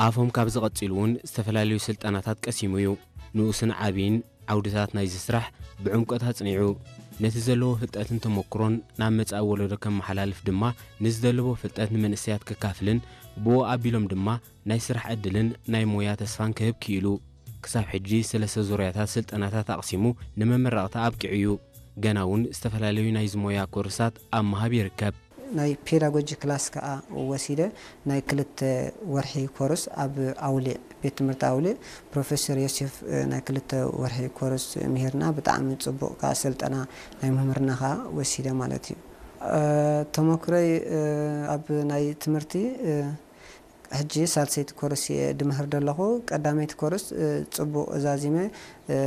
ኣፎም ካብዚ ቀጺሉ እውን ዝተፈላለዩ ስልጠናታት ቀሲሙ እዩ። ንኡስን ዓብይን ዓውድታት ናይዚ ስራሕ ብዕምቆት ኣጽኒዑ፣ ነቲ ዘለዎ ፍልጠትን ተመክሮን ናብ መጻኢ ወለዶ ከመሓላልፍ ድማ፣ ንዝደለቦ ፍልጠት ንመንእሰያት ከካፍልን ብኡ ኣቢሎም ድማ ናይ ስራሕ ዕድልን ናይ ሞያ ተስፋን ክህብ ክኢሉ። ክሳብ ሕጂ ሰለስተ ዙርያታት ስልጠናታት ኣቕሲሙ ንመመረቕታ ኣብቂዑ እዩ። ገና እውን ዝተፈላለዩ ናይዚ ሞያ ኮርሳት ኣብ ምሃብ ይርከብ። ናይ ፔዳጎጂ ክላስ ከኣ ወሲደ፣ ናይ ክልተ ወርሒ ኮርስ ኣብ ኣውሊዕ፣ ቤት ትምህርቲ ኣውሊዕ ፕሮፌሰር ዮሴፍ፣ እ፣ ናይ ክልተ ወርሒ ኮርስ ምሂርና። ብጣዕሚ ጽቡቕ ከኣ ስልጠና ናይ ምምህርና ከኣ ወሲደ ማለት እዩ። እ፣ ተመክሮይ፣ እ፣ ኣብ ናይ ትምህርቲ፣ እ፣ ሕጂ ሳልሰይቲ ኮርስ እየ ድምህር ዘለኹ። ቀዳመይቲ ኮርስ፣ እ፣ ጽቡቕ ዛዚመ፣ እ፣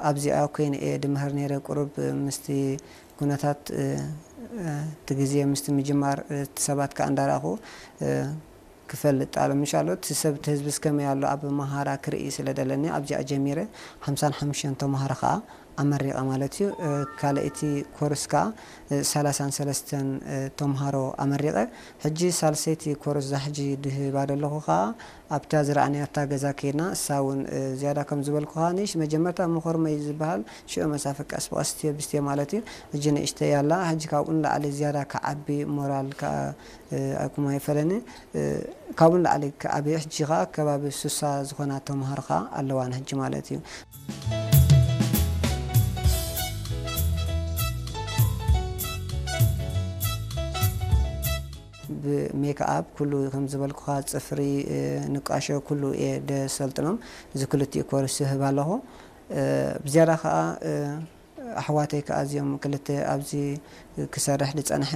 ኣብዚኣ ኮይነ እየ ድምህር ነይረ። ቁሩብ ምስቲ ኩነታት፣ እ፣ እ፣ እቲ ግዜ ምስቲ ምጅማር፣ እ፣ እቲ ሰባት ከኣ እንዳረኣኹ፣ እ፣ ክፈልጥ ኣለ። ምሻሎ እቲ ሰብ፣ እቲ ህዝቢ እስከመይ ኣሎ ኣብ መሃራ ክርኢ ስለ ደለኒ ኣብዚኣ ጀሚረ። ሓምሳን ሓሙሽተን ተምሃሮ ከኣ ኣመሪቐ ማለት እዩ። እ፣ ካልኣይቲ ኮርስ ከኣ፣ እ፣ ሰላሳን ሰለስተን፣ እ፣ ተምሃሮ ኣመሪቐ። ሕጂ ሳልሰይቲ ኮርስ እዛ ሕጂ ድህባ ዘለኹ ከኣ ኣብታ ዝረኣናያ ኣብታ ገዛ ከይድና፣ እሳ እውን፣ እ፣ ዝያዳ ከም ዝበልኩኻ፣ ንሽ መጀመርታ መኾርመይ ዝበሃል ሽዑ መሳፈ ቀስ ብቐስ እስትዮ ብስትዮ ማለት እዩ። ሕጂ ንእሽተይ ኣላ። ሕጂ ካብኡ ንላዕሊ ዝያዳ ክዓቢ ሞራል ከኣ፣ እ፣ ኣይኩም ኣይፈለኒ። እ፣ ካብኡ ንላዕሊ ክዓቢ፣ ሕጂ ከኣ ከባቢ ሱሳ ዝኾና ተምሃሮ ከኣ ኣለዋን ሕጂ ማለት እዩ። ብሜክኣፕ ኩሉ ከም ዝበልኩኻ፣ ጽፍሪ፣ እ፣ ንቃሾ ኩሉ እየ ደሰልጥኖም። እዚ ክልቲኡ ኮርስ ይህብ ኣለኹ። እ፣ ብዝያዳ ከኣ፣ እ፣ ኣሕዋተይ ከኣ እዚኦም ክልተ ኣብዚ ክሰርሕ ዝጸንሐ፣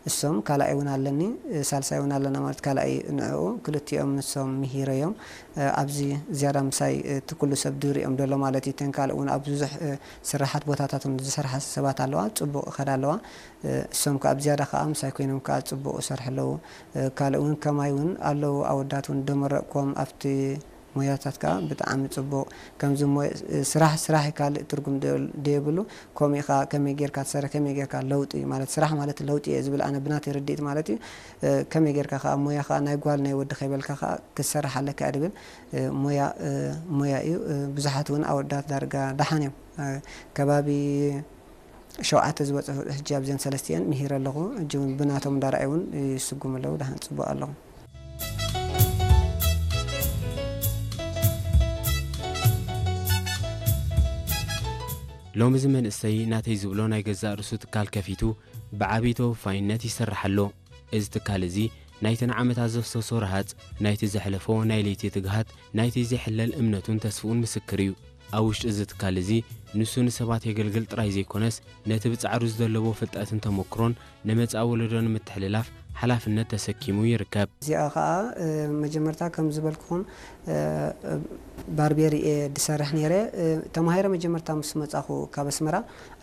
እሶም ካልኣይ እውን ኣለኒ፣ እ፣ ሳልሳይ እውን ኣለና ማለት ካልኣይ ንዕኡ ክልቲኦም ንሶም ምሂረዮም። እ፣ ኣብዚ ዝያዳ ምሳይ፣ እ፣ እቲ ኩሉ ሰብ ድሪኦም ደሎ ማለት እዩ። እተን ካልእ እውን ኣብ ብዙሕ፣ እ፣ ስራሓት ቦታታት እውን ዝሰርሓ ሰባት ኣለዋ፣ ጽቡቕ ይኸዳ ኣለዋ። እ፣ እሶም ከኣ ብዝያዳ ከኣ ምሳይ ኮይኖም ከኣ ጽቡቕ ይሰርሑ ኣለዉ። እ፣ ካልእ እውን ከማይ እውን ኣለዉ ኣወዳት እውን ደመረቕኮም ኣብቲ ሞያታት ከኣ ብጣዕሚ ጽቡቕ። ከምዚ ሞ-፣ እ፣ ስራሕ ስራሕ እዩ፣ ካልእ ትርጉም ደ-፣ ደየብሉ። ከምኡ ኢኻ ከመይ ጌርካ ትሰርሕ፣ ከመይ ጌርካ ለውጢ ማለት ስራሕ ማለት ለውጢ እየ ዝብል ኣነ ብናተይ ርድኢት ማለት እዩ። እ፣ ከመይ ጌርካ ከኣ ሞያ ከኣ ናይ ጓል ናይ ወዲ ከይበልካ ከኣ ክትሰርሕ ኣለካ እየ ድብል። እ፣ ሞያ፣ እ፣ ሞያ እዩ። እ፣ ብዙሓት እውን ኣወዳት ዳርጋ ደሓን እዮም። እ፣ ከባቢ ሸውዓተ ዝበጽሑ ሕጂ ኣብዘን ሰለስቲአን ምሂረ ኣለኹ። ሕጂ እውን ብናቶም እንዳረኣዩ እውን ይስጉሙ ኣለዉ። ደሓን ጽቡቕ ኣለኹ። ሎሚ እዚ መንእሰይ ናተይ ዝብሎ ናይ ገዛእ ርእሱ ትካል ከፊቱ ብዓብዪ ተወፋይነት ይሰርሕ ኣሎ። እዚ ትካል እዚ ናይተን ዓመታት ዘፍሰሶ ረሃጽ፣ ናይቲ ዘሕለፎ ናይ ለይቲ ትግሃት፣ ናይቲ ዘይሕለል እምነቱን ተስፍኡን ምስክር እዩ። ኣብ ውሽጢ እዚ ትካል እዚ ንሱ ንሰባት የገልግል ጥራይ ዘይኮነስ፣ ነቲ ብጻዕሩ ዝደለቦ ፍልጠትን ተመክሮን ንመጻኢ ወለዶ ንምትሕልላፍ ሓላፍነት ተሰኪሙ ይርከብ። እዚኣ ኸኣ፣ እ፣ መጀመርታ ከም ዝበልኩኹም፣ እ፣ ባርቤር እየ ድሰርሕ ነይረ። እ፣ ተማሂረ መጀመርታ ምስ መጻኹ ካብ ኣስመራ፣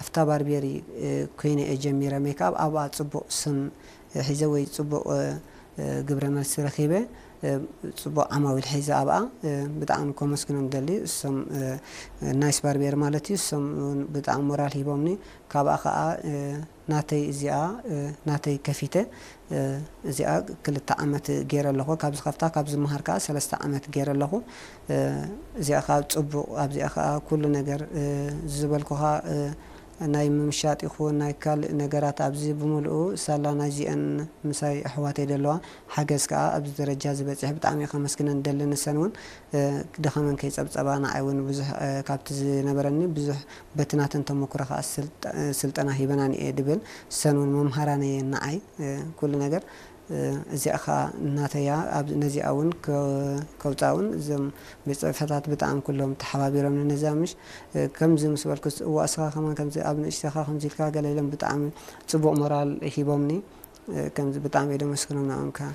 ኣብታ ባርቤሪ፣ እ፣ ኮይነ እየ ጀሚረ ሜክኣፕ። ኣብኣ ጽቡቕ ስም ሒዘ ወይ ጽቡቕ፣ እ፣ እ፣ ግብረ መልሲ ረኺበ፣ እ፣ ጽቡቕ ዓማዊል ሒዘ ኣብኣ፣ እ፣ ብጣዕሚ ከመስግኖም ደሊ። እሶም፣ እ፣ ናይስ ባርቤር ማለት እዩ። እሶም እውን ብጣዕሚ ሞራል ሂቦምኒ። ካብኣ ኸኣ፣ እ፣ ናተይ እዚኣ፣ እ፣ ናተይ ከፊተ፣ እ፣ እዚኣ ክልተ ዓመት ገይረ ኣለኹ። ካብ ዝኸፍታ፣ ካብ ዝመሃር ከኣ ሰለስተ ዓመት ገይረ ኣለኹ። እ፣ እዚኣ ከኣ ጽቡቕ፣ ኣብዚኣ ከኣ ኩሉ ነገር፣ እ፣ ዝበልኩኻ፣ እ፣ ናይ ምምሻጥ ይኹን ናይ ካልእ ነገራት ኣብዚ ብምሉኡ ሳላ ናይዚአን ምሳይ ኣሕዋተይ ደለዋ ሓገዝ ከኣ ኣብዚ ደረጃ ዝበጽሕ ብጣዕሚ ከመስግነን ደሊ። ንሰን እውን፣ እ፣ ድኸመን ከይጸብጸባ ንዓይ እውን ብዙሕ፣ እ፣ ካብቲ ዝነበረኒ ብዙሕ በቲ ናተን ተመክሮ ከኣ ስልጠ-፣ ስልጠና ሂበናኒ እየ ድብል። ንሰን እውን መምሃራን እየን ንዓይ፣ እ፣ ኩሉ ነገር። እ፣ እዚኣ ኸኣ እናተያ ኣብ ነዚኣ እውን ከ-፣ ከውጻ እውን እዞም ቤት ጽሕፈታት ብጣዕሚ ኩሎም ተሓባቢሮምኒ ነዛ ምሽ፣ እ፣ ከምዚ ምስ በልኩስ፣ እዋ እስኻ ከማን ከምዚ ኣብ ንእሽተኻ ከምዚ ኢልካ ገለ ኢሎም ብጣዕሚ ጽቡቕ ሞራል ሂቦምኒ። እ፣ ከምዚ ብጣዕሚ እየ ደመስግኖም ንዕኦም ከኣ።